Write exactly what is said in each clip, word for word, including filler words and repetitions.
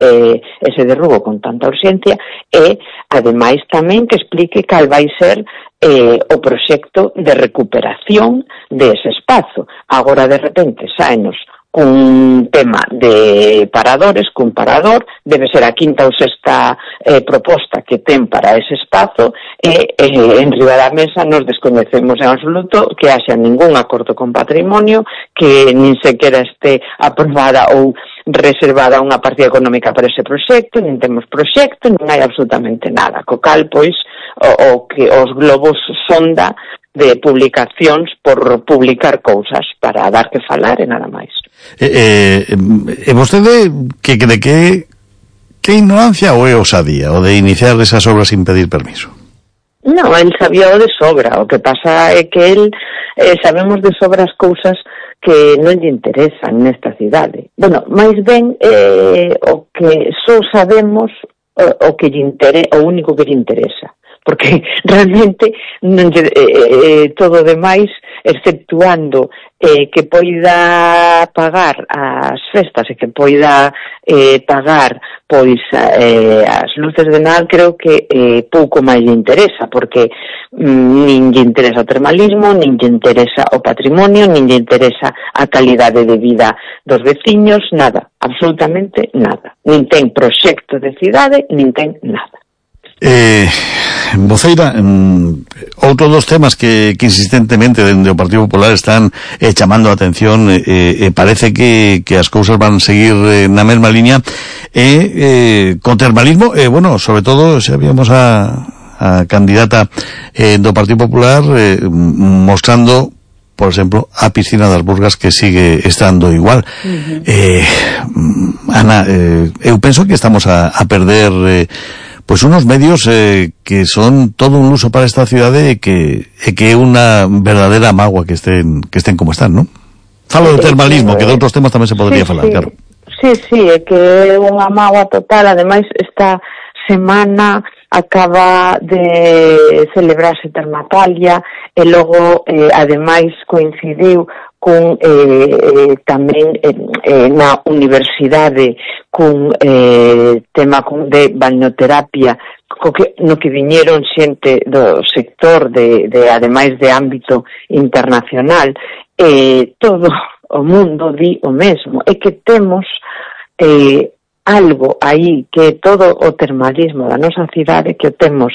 eh, ese derrubo con tanta urxencia e, ademais, tamén que explique cal vai ser eh, o proxecto de recuperación dese espazo. Agora, de repente, saenos un tema de paradores, cun parador, debe ser a quinta ou sexta eh, proposta que ten para ese espazo e eh, en riba da mesa nos desconocemos en absoluto que haxa ningún acordo con patrimonio, que nin sequera este aprobada ou reservada unha partida económica para ese proxecto, nin temos proxecto, non hai absolutamente nada. Co cal, pois, o, o que os globos sonda de publicacións por publicar cousas para dar que falar e nada máis. E eh, eh, vostede que cree que que ignorancia ou é osadía o de iniciar esas obras sin pedir permiso? Non, el sabía o de sobra. O que pasa é que el eh, sabemos de sobra as cousas que non lle interesan nesta cidade. Bueno, máis ben eh, o que só sabemos o, o que lle interesa, o único que lle interesa. Porque realmente non lle, eh, eh, todo o demais, exceptuando eh, que poida pagar as festas e que poida eh, pagar pois eh, as luces de Nadal, creo que eh, pouco máis lle interesa, porque mm, nin lle interesa o termalismo, nin lle interesa o patrimonio, nin lle interesa a calidade de vida dos veciños, nada, absolutamente nada. Nin ten proxecto de cidade, nin ten nada. Eh, voceira, mm, outro dos temas que, que insistentemente dende o Partido Popular están eh, chamando a atención e eh, eh, parece que, que as cousas van seguir eh, na mesma línea e eh, co termalismo, eh, bueno, sobre todo xa víamos a, a candidata eh, do Partido Popular eh, mostrando, por exemplo, a piscina das Burgas que sigue estando igual. Uh-huh. eh, Ana, eh, eu penso que estamos a, a perder eh, pues unos medios eh, que son todo un luso para esta cidade e que é que é unha verdadeira mágoa que estén que estén como están, ¿no? Falo do termalismo, que de outros temas tamén se podría sí, falar, sí. claro. Sí, sí, é que é unha mágoa total. Ademais, esta semana acaba de celebrarse Termatalia e logo, eh, ademais, coincidiu con eh, eh, tamén eh, na universidade cun eh, tema con de balneoterapia co que, no que viñeron xente do sector de, de ademais de ámbito internacional. Eh, todo o mundo di o mesmo, é que temos eh, algo aí que todo o termalismo da nosa cidade que o temos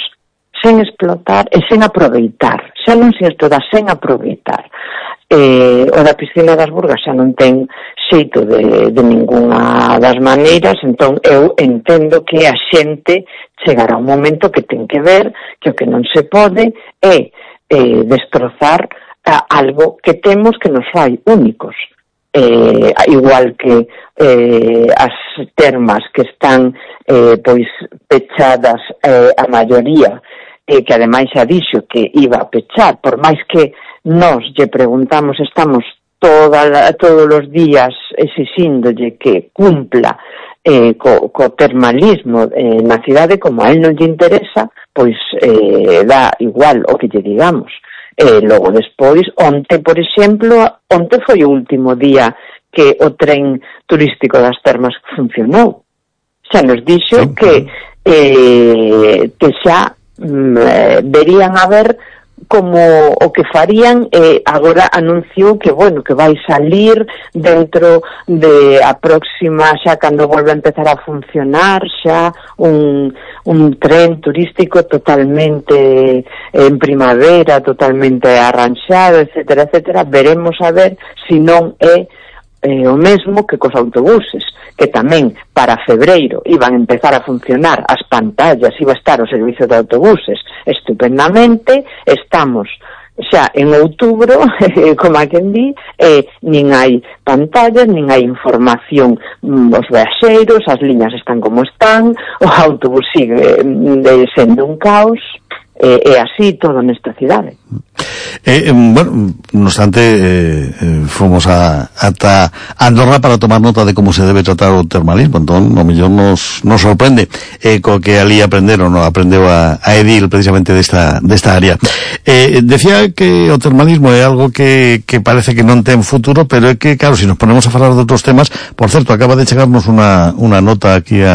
sen explotar e sen aproveitar, xa non certo da sen aproveitar. Eh, o da piscina das Burgas xa non ten xeito de, de ninguna das maneiras, entón eu entendo que a xente chegará un momento que ten que ver que o que non se pode é eh, destrozar a, algo que temos que nos fai únicos. Eh, igual que eh, as termas que están eh, pois pechadas eh, a maioría, eh, que ademais xa dixo que iba a pechar, por máis que nos lle preguntamos, estamos toda la, todos os días exixíndolle que cumpla eh, co, co termalismo eh, na cidade, como a él non lle interesa, pois eh, dá igual o que lle digamos. Eh, logo despois, onte, por exemplo, onte foi o último día que o tren turístico das termas funcionou. Xa nos dixo sí, que, eh, que xa mm, verían a ver como o que farían, eh, agora anunciou que, bueno, que vai salir dentro de a próxima, xa cando volve a empezar a funcionar, xa un, un tren turístico totalmente en primavera, totalmente arranxado, etcétera, etcétera. Veremos a ver se non é eh, o mesmo que cos autobuses, que tamén para febreiro iban a empezar a funcionar as pantallas, iba a estar o servicio de autobuses estupendamente, estamos xa en outubro, como a quen di, eh, nin hai pantallas, nin hai información os viaxeiros, as liñas están como están, o autobús sigue eh, sendo un caos. eh, é así todo nesta cidade. Eh, bueno, no obstante, eh, eh, fomos a, ata Andorra para tomar nota de como se debe tratar o termalismo, entón, o mellor nos, nos sorprende eh, co que ali aprenderon, no aprendeu a, a Edil precisamente desta, desta área. Eh, decía que o termalismo é algo que, que parece que non ten futuro, pero é que, claro, se si nos ponemos a falar de outros temas, por certo, acaba de chegarnos unha, unha nota aquí a